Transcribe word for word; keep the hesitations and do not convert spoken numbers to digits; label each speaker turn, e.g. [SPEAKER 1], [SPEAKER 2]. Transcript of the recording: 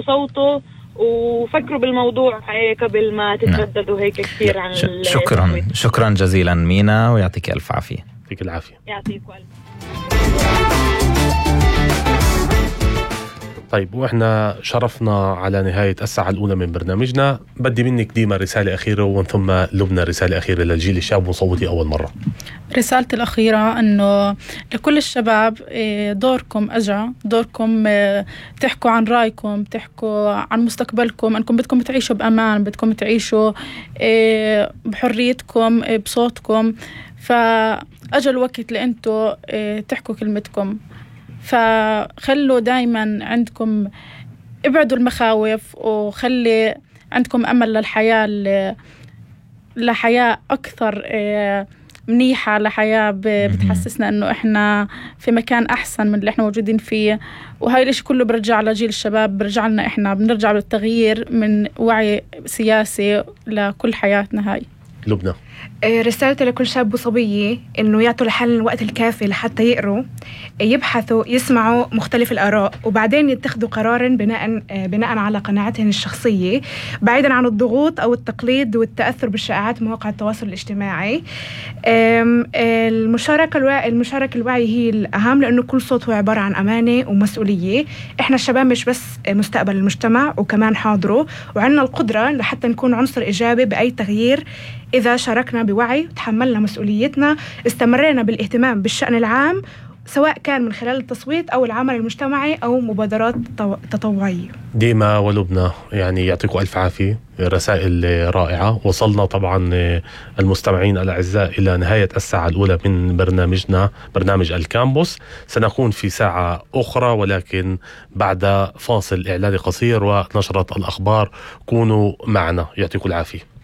[SPEAKER 1] صوته وفكروا بالموضوع هيك قبل ما تترددوا هيك كثير عن
[SPEAKER 2] ش- شكرا شكرا جزيلا مينا، ويعطيك ألف عافية.
[SPEAKER 3] يعطيك العافية.
[SPEAKER 1] يعطيكم ألف.
[SPEAKER 3] طيب، وإحنا شرفنا على نهاية الساعة الأولى من برنامجنا. بدي منك ديما رسالة أخيرة، ومن ثم لبنى رسالة أخيرة للجيل الشاب وصوتي أول مرة.
[SPEAKER 4] رسالتي الأخيرة أنه لكل الشباب دوركم أجا، دوركم تحكوا عن رأيكم، تحكوا عن مستقبلكم، أنكم بدكم تعيشوا بأمان، بدكم تعيشوا بحريتكم بصوتكم. فأجا الوقت لأنتوا تحكوا كلمتكم. فخلوا دايما عندكم، ابعدوا المخاوف، وخلي عندكم أمل للحياة، لحياة أكثر منيحة، لحياة بتحسسنا أنه إحنا في مكان أحسن من اللي إحنا موجودين فيه. وهاي الاشي كله برجع لجيل الشباب، برجع لنا إحنا، بنرجع للتغيير من وعي سياسي لكل حياتنا. هاي
[SPEAKER 3] لبنى.
[SPEAKER 5] رسالتي لكل شاب وصبية إنه يعطوا الحل الوقت الكافي لحتى يقروا، يبحثوا، يسمعوا مختلف الآراء، وبعدين يتخذوا قرارا بناء بناء على قناعتهم الشخصية، بعيدا عن الضغوط أو التقليد والتأثر بالشائعات مواقع التواصل الاجتماعي. المشاركة الوعي المشاركة الوعي هي الأهم، لأنه كل صوت هو عبارة عن أمانة ومسؤولية. إحنا الشباب مش بس مستقبل المجتمع، وكمان حاضره، وعندنا القدرة لحتى نكون عنصر إيجابي بأي تغيير إذا شاركنا بوعي، تحملنا مسؤوليتنا، استمرينا بالاهتمام بالشأن العام، سواء كان من خلال التصويت أو العمل المجتمعي أو مبادرات تطوعية.
[SPEAKER 3] ديما ولبنى، يعني يعطيكم ألف عافية، رسائل رائعة. وصلنا طبعا المستمعين الأعزاء إلى نهاية الساعة الأولى من برنامجنا، برنامج الكامبوس. سنكون في ساعة أخرى، ولكن بعد فاصل إعلاني قصير ونشرة الأخبار. كونوا معنا، يعطيكم العافية.